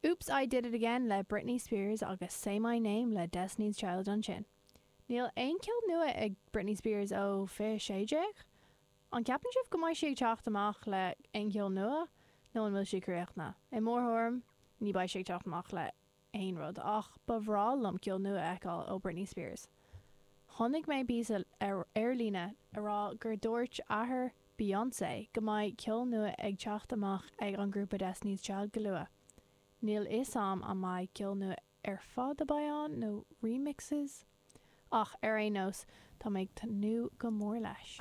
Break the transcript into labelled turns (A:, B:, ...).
A: Oops I Did It Again le Britney Spears agus Say My Name le Destiny's Child ansin. Níl aon ceol nua ag Britney Spears ó 2016? An gceapann sibh go mbeidh sí ag teacht amach le aon cheol nua nó an bhfuil sí críochnaithe? I mo thuairim, ní beidh sí ag teacht amach le aon rud, ach ba bhreá liom ceol nua a fheiceáil ó Britney Spears. Chonaic mé píosa ar líne a rá gur dúirt athair Beyoncé go mbeidh ceol nua ag teacht amach ag an grúpa Destiny's Child go luath. Níl fhios a'm an mbeidh ceol nua ar fad a beidh ann nó remixes? Ach ar aon nós, tá mé ag tnúth go mór leis.